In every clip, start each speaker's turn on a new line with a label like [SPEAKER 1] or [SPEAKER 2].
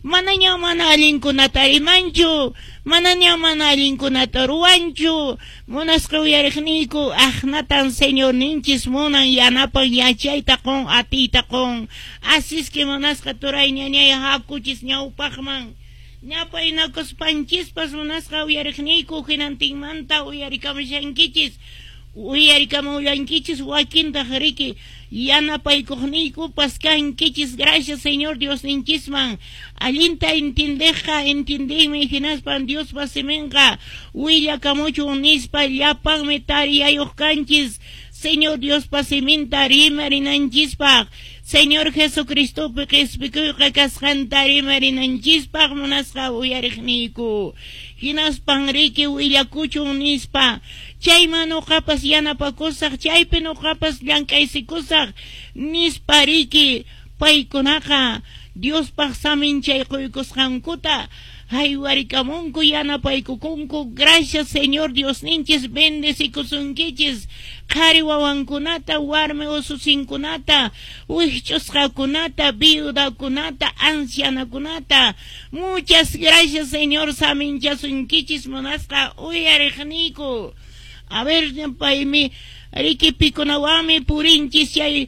[SPEAKER 1] Manaña mana allinkunata rimanchu, manaña mana allinkunata ruwanchu. Munasqa uyariqniyku, aqnatan Señorninchis munan, yanapan, yachayta qon, atiyta qon. Así que munasqa turay, ñañay, hakuchis ñawpaqman. Ñapaynakuspanchispas, munasqa uyariqniyku, hinantinmanta uyarikamushankichis, uyarikamullankichis, wakintaq riki yanapaykuqniykupas kankichis. Gracias Señor Diosninchisman. Allinta entiendeqqa entiendinmi, hinaspan Diospa siminqa willakamuchun nispa llapanmi tariyayuq kanchis Señor Diospa siminta rimarinanchispaq, Señor Jesucristopi qispikuyqa kasqanta rimarinanchispaq, munasqa uyariqniyku. Hinaspan riki willakuchun nispa, chayman nuqapas yanapakusaq, chaypi nuqapas llank'aysikusaq nispa riki paykunaqa Diospaq saminchay quykusqankuta haywarikamunku, yanapaykukunku. Gracias, Señor Diosninchis bendecikusunkichis, qhari wawankunata, warmi ususinkunata, wikch'usqakunata, viudakunata, ancianakunata. Muchas gracias, Señor saminchasunkichis, munasqa uyariqniyku. A ver, paymi riki pikunawanmi purinchis chay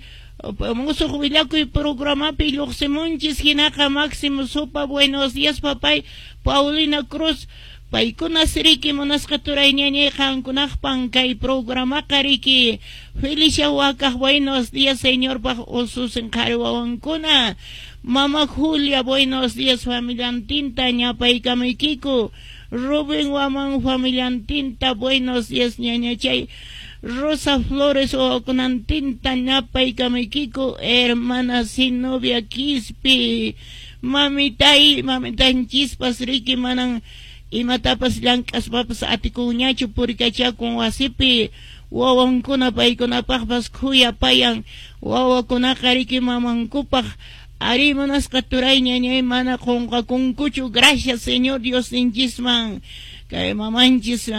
[SPEAKER 1] musuq willakuy programapi lluqsimunchis. Hinaqa Máximo Sopa, buenos días, papay. Paulina Cruz, paykuna riki, munasqa turay, ñañay, qankunaqpan kay programaqa riki. Felicia Wakaq, buenos días, Señorpaq ususin qhari wawankuna. Mama Julia, buenos días, familiantinta ñapaykamaykiku. Rubén Waman familiantinta, buenos días, ñañachay. Rosa Flores wawakunantinta ñapaykamaykiku. Hermana Sinovia Quispi, mamitay, mamitanchispas riki manan imatapas llank'aspapas atikunñachu, purikachakun wasipi, wawankuna paykunapaqpas khuyapayan, wawakunaqa riki mamankupaq ari, munasqa turay, ñañay, mana qunqakunkuchu. Gracias Señor Diosninchisman kay mamanchis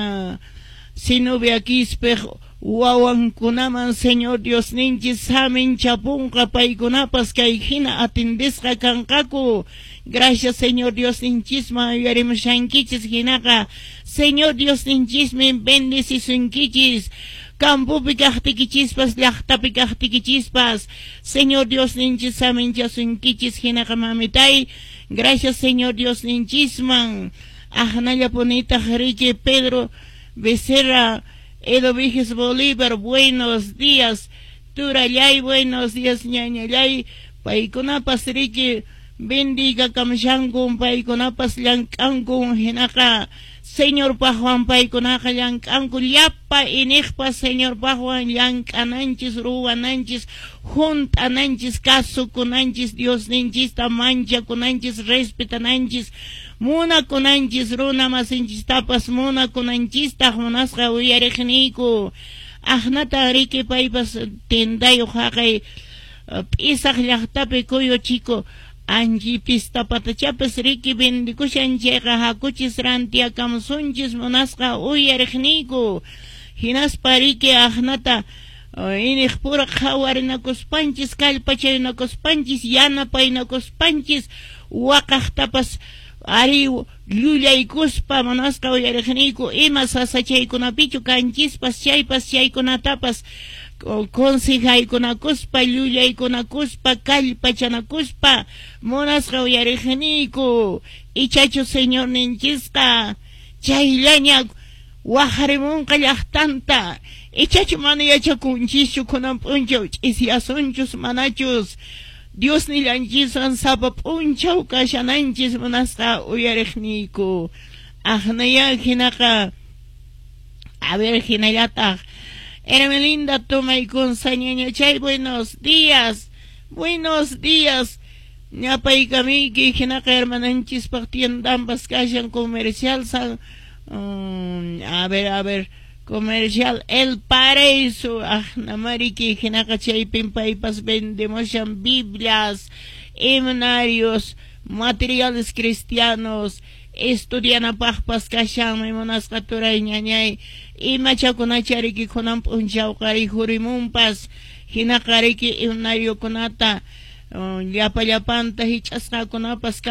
[SPEAKER 1] Sinovia Quispiq wawankunaman Señor Diosninchis saminchapunqa, paykunapas kay hina atendisqa kanqaku. Gracias Señor Diosninchisman yuyarimushankichis, hinaqa Señor Diosninchismi bendecisunkichis campopi kaqtikichispas, llaqtapi kaqtikichispas, Señor Diosninchis saminchasunkichis. Hinaqa mamitay, gracias Señor Diosninchisman. Aqnallapunitaq riki Pedro Becerra, Edo Viges Bolívar, buenos días, turallay, buenos días, ñañallay. Paykunapas riki bendigakamshankun, paykunapas llank'ankun, hinaqa Señorpaqwan paykunaqa llank'anku. Llapa iniqpas Señorpaqwan llank'ananchis, ruwananchis, hunt'ananchis, kasukunanchis, Diosninchista manchakunanchis, respetananchis, munakunanchis, runa masinchistapas munakunanchistaq, munasqa uyariqniyku. Aqnata riki paypas tendayuq haqay P'isaq llaqtapi, Cuyo Chico, anchi pistapatachapas riki vendikushan chayqa, hakuchis rantiakamusunchis, munasqa uyariqniyku. Hinaspa riki aqnata iniqpura qhawarinakuspanchis, kallpachaynakuspanchis, yanapaynakuspanchis, waqaqtapas ari llullaykuspa, munasqa uyariqniyku, ima sasachaykunapichu kanchispas chaypas, chaykunatapas consejaykunakuspa, llullaykunakuspa, kallpachanakuspa, munasqa uyariqniyku. Ichachu Señorninchisqa chayllaña waqarimunqa llaqtanta? Ichachu mana yachakunchischu kunan p'unchaw ch'isiyasunchus manachus? Dios nillanchiswan sapa p'unchaw kashananchis, munasqa uyariqniyku. Aqnaya hinaqa, a ver, hinallataq Hermelinda Tomaykunsa ñañachay, buenos días, buenos días, ñapaykamiyki. Hinaqa hermananchispaq tiendanpas kashan comercial San, a ver, a ver, comercial El Paraíso, aqnamariki. Hinaqa chaypin paypas vendemushan Biblias, himnarios, materiales cristianos, estudianapaqpas kashanmi, munasqa turay, ñañay. Imachakunacha riki kunan p'unchawqa rikhurimunpas, hinaqa riki himnariokunata llapa llapanta hich'asqakunapas.